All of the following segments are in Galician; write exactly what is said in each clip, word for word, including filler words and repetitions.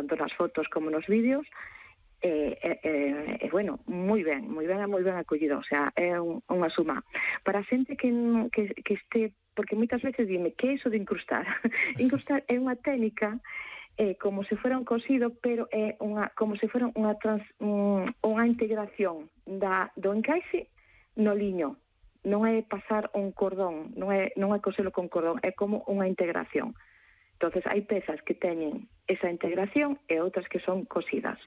tanto nas fotos como nos vídeos, e, e, e, e bueno, moi ben, moi ben, moi ben acollido, o sea, é un, unha suma. Para a xente que, que, que este, porque moitas veces dime, que é iso de incrustar? Incrustar é unha técnica, é como se fora un cosido, pero é unha, como se fora unha, trans, un, unha integración da, do encaixe no liño. Non é pasar un cordón, non é, non é coselo con cordón, é como unha integración. Entonces hai pezas que teñen esa integración e outras que son cosidas.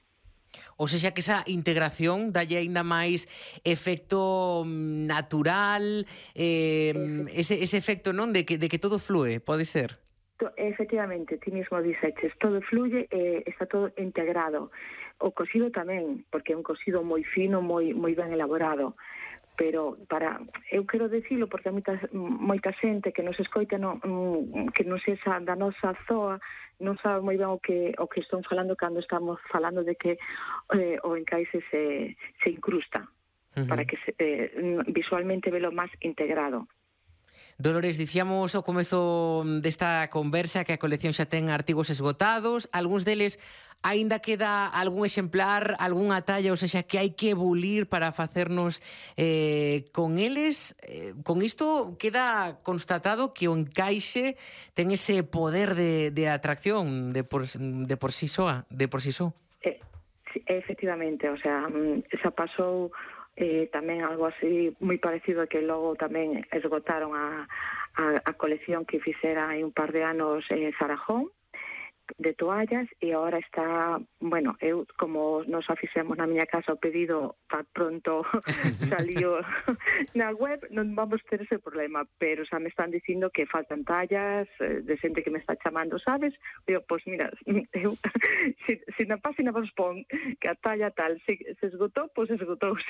Ou seja, que esa integración dalle aínda máis efecto natural, eh, ese, ese efecto, non, de que, de que todo flúe, pode ser? Efectivamente, ti mismo dixeches, todo fluye e está todo integrado. O cosido tamén, porque é un cosido moi fino, moi moi ben elaborado. Pero para, eu quero dicilo porque a moita, moita xente que nos escoita non, que non se xa da nosa zoa non sabe moi ben o que o que están falando cando estamos falando de que eh, o encaixe se, se incrusta, uh-huh, para que se, eh, visualmente velo máis integrado. Dolores, dicíamos ao comezo desta conversa que a colección xa ten artigos esgotados, algúns deles aínda queda algún exemplar, algunha talla, ou seja, que hai que bulir para facernos eh, con eles. Eh, con isto queda constatado que o encaixe ten ese poder de, de atracción de por, de por sí soa, de por sí só. Eh, sí, efectivamente, o sea, xa pasou eh, tamén algo así moi parecido que logo tamén esgotaron a, a, a colección que fixera hai un par de anos en Sarajón de toallas e agora está, bueno, eu como nos afixemos na miña casa o pedido tan pronto salió na web, non vamos ter ese problema, pero xa me están dicindo que faltan tallas de xente que me está chamando, sabes? Eu, pois pues, mira, eu, se, se na página vos pon que a talla tal se, se esgotou, pois pues esgotouse.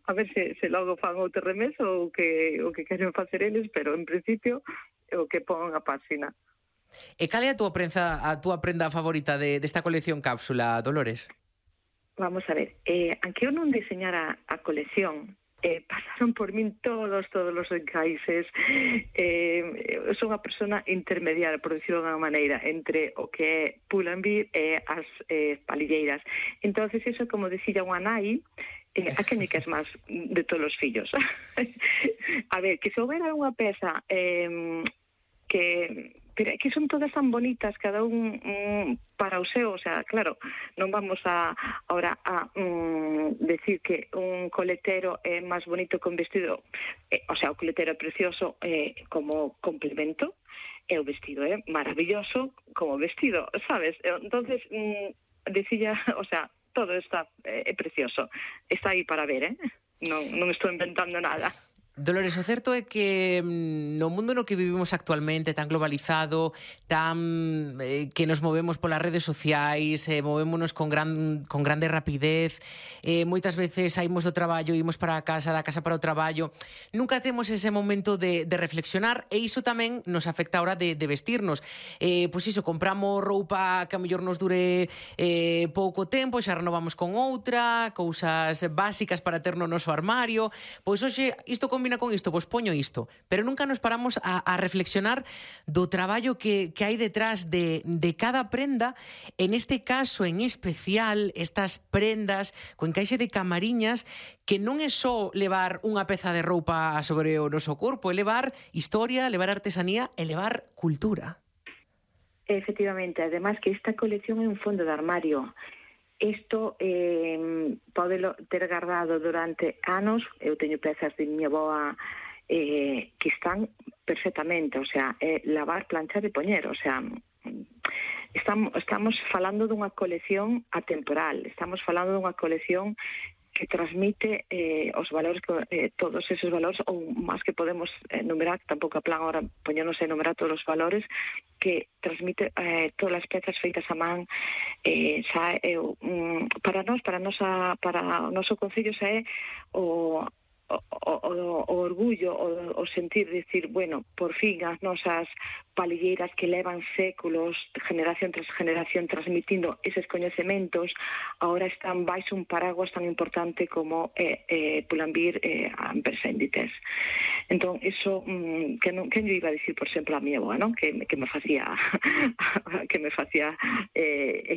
A ver se, se logo fan outro remeso ou que, o que queren facer eles, pero en principio o que pon a página. E cal é a túa prensa, a túa prenda favorita de, desta colección cápsula, Dolores? Vamos a ver, eh, aunque eu non diseñara a colección, eh, pasaron por min todos, todos os encaixes. Eh, eu son unha persona intermediaria, por decirlo de unha maneira, entre o que é Pull&Bear e as eh, palilleiras. Entonces, eso, como decía unha nai, eh, a que me queres máis de todos os fillos? A ver, que se houbera unha peza eh, que... pero é que son todas tan bonitas, cada un um, para o seu, o sea, claro, non vamos a ahora a um, decir que un coletero é máis bonito que un vestido, eh, o sea, o coletero é precioso eh, como complemento, e o vestido é maravilloso como vestido, sabes? Entonces, um, decía, o sea, todo está é eh, precioso, está aí para ver, eh? Non, non estou inventando nada. Dolores, o certo é que no mundo no que vivimos actualmente, tan globalizado, tan eh, que nos movemos polas redes sociais, eh, movémonos con gran con grande rapidez, eh, moitas veces saímos do traballo, imos para a casa, da casa para o traballo, nunca temos ese momento de, de reflexionar, e iso tamén nos afecta a hora de, de vestirnos. Eh, pois iso, compramos roupa que a mellor nos dure eh, pouco tempo, xa renovamos con outra, cousas básicas para ter no noso armario. Pois hoxe, isto con combina con isto, pois poño isto, pero nunca nos paramos a, a reflexionar do traballo que, que hai detrás de, de cada prenda, en este caso en especial, estas prendas co encaixe de camariñas, que non é só levar unha peza de roupa sobre o noso corpo, é levar historia, levar artesanía e levar cultura. Efectivamente, además que esta colección é un fondo de armario. Isto eh, pode ter guardado durante anos. Eu teño pezas de miña boa eh, que están perfectamente, o sea, é lavar, planchar e poñer, o sea, estamos, estamos falando dunha colección atemporal, estamos falando dunha colección que transmite eh, os valores, eh, todos esos valores, ou máis que podemos enumerar, tampouco a plan ahora poñernos a enumerar todos os valores, que transmite eh, todas as pezas feitas a man, eh, xa é, um, para nós, para, nosa, para o noso concello xa é o... O, o, o orgullo, o, o sentir, decir, bueno, por fin as nosas palilleiras que levan séculos, generación tras generación, transmitindo eses coñecementos, agora están baixo un paraguas tan importante como eh, eh, Pull&Bear e eh, Ampersand Inditex. Entón, eso, mm, que, non, que yo iba a dicir, por exemplo, a mi avoa, non? Que, que me facía que me facía eh,